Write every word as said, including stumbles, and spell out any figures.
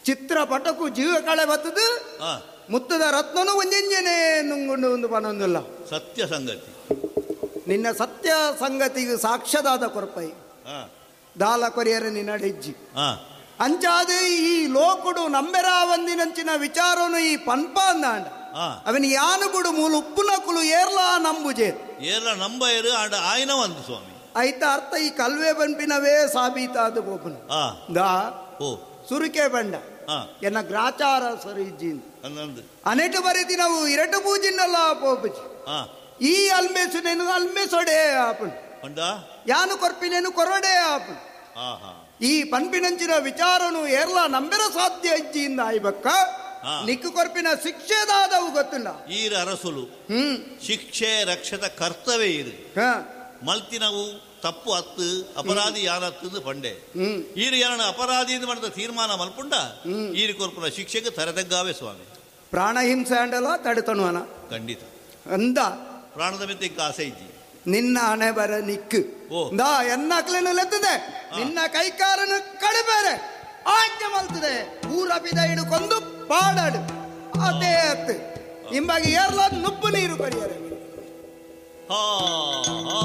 ಚಿತ್ರಪಟಕು ಜೀವ ಕಳೆ ಬತ್ತದು ಆ, ಮುತ್ತದ ರತ್ನನು ಒಂಜೆಂಜನೆ ನುಂಗುಂಡು ಒಂದು ಪನೊಂದಿಲ್ಲ. ಸತ್ಯ ಸಂಗತಿ. ನಿನ್ನ ಸತ್ಯ ಸಂಗತಿಗೆ ಸಾಕ್ಷ್ಯದಾದ ಕೊರ್ಪೈ ಆ, ದಾಲ ಕೊರಿಯರ ನಿನ್ನ ಹೆಜ್ಜಿ ಆ, ಅಂಚಾದ ಈ ಲೋಕುಡು ನಂಬೆರಾವಂದಿನಂಚಿನ ವಿಚಾರನು ಈ ಪನ್ಪ ಅಂದಾಂಡ ಆ. ಅವನ ಯಾನು ಬುಡು ಮೂಲ ಉಪ್ಪುನಕುಲು ಏರ್ಲಾ ನಂಬುಜೆ ಏರ್ಲ ನಂಬಯರು ಆಂಡ ಆಯ್ನ ಒಂದು ಸ್ವಾಮಿ. ಐತ ಅರ್ಥ ಈ ಕಲ್ವೆ ಬಂಪಿನವೇ ಸಾಬೀತಾದ ಬೋಪನು ಆ, ದಾ ಓ ಸುರುಕೆ ಬಂಡ ಆ, ಎನ್ನ ಗ್ರಾಚಾರ ಸರಿ ಇಜ್ಜಿಂದು ಅಂದಂದು ಅನೆಟು ಬರೀತಿ ನಾವು ಇರಟು ಪೂಜಿನಲ್ಲ ಪೋಪುಜಿ ಆ, ಈ ಅಲ್ಮೇಸುನೇನು ಅಲ್ಮೇಸೊಡೆ ಆಪುಣ್ ಪಂಡ ಯಾನು ಕೊರ್ಪಿನೇನು ಕೊರಡೆ ಆಪುಣ್ ಆಹಾ ಈ ಪನ್ಪಿನಂಚಿನ ವಿಚಾರನು ಏರ್ಲ ನಂಬೆರ ಸಾಧ್ಯ ಇಜ್ಜಿಯಿಂದ ಆಯ್ಬಕ್ಕ ಆ. ನಿಕ್ಕು ಕೊರ್ಪಿನ ಶಿಕ್ಷೆದಾದವು ಗೊತ್ತಿಲ್ಲ. ಈರ ಅರಸುಲು ಹ್ಮ್ ಶಿಕ್ಷೆ ರಕ್ಷದ ಕರ್ತವ್ಯ ಇರು ಹ ಮಲ್ತಿನವು ತಪ್ಪು ಅತ್ತು ಅಪರಾಧಿ ಯಾನತ್ತು ಪಂಡೆ ಹ್ಮ್ ಈರು ಯಾರನ ಅಪರಾಧಿ ಎಂದು ಮಾಡಿದ ತೀರ್ಮಾನ ಮಲ್ಪುಂಡ ಈರು ಕೊರ್ಪುನ ಶಿಕ್ಷೆಗೆ ತರದಗ್ಗಾವೆ ಸ್ವಾಮಿ. ಪ್ರಾಣಹಿಂಸೆ ಅಂಡಲ ತಡೆತನುವನ ಖಂಡಿತ ಅಂದ ಪ್ರಾಣದ ಮೆತ್ತೆ ಇಂಕ ಆಸೆ ಇಜ್ಜಿ ನಿನ್ನ ಹಣೆ ಬರ ನಿಕ್ಕು ಓ. ದಾ ಎನ್ನಕ್ಲೇನು ಲೆತ್ತದೆ ನಿನ್ನ ಕೈಕಾರನು ಕಡಿಬೇರೆ ಆಜ್ಞೆ ಮಲ್ತದೆ ಊರ ಬಿದ ಹಿಡ್ಕೊಂಡು ಪಾಡಾಡು ಅದೇ ಅತ್ತು ಇಂಬಾಗಿ ಏರ್ಲ ನುಪ್ಪು ನೀರು ಕರಿಯರೆ. ಹಾ ಹಾ.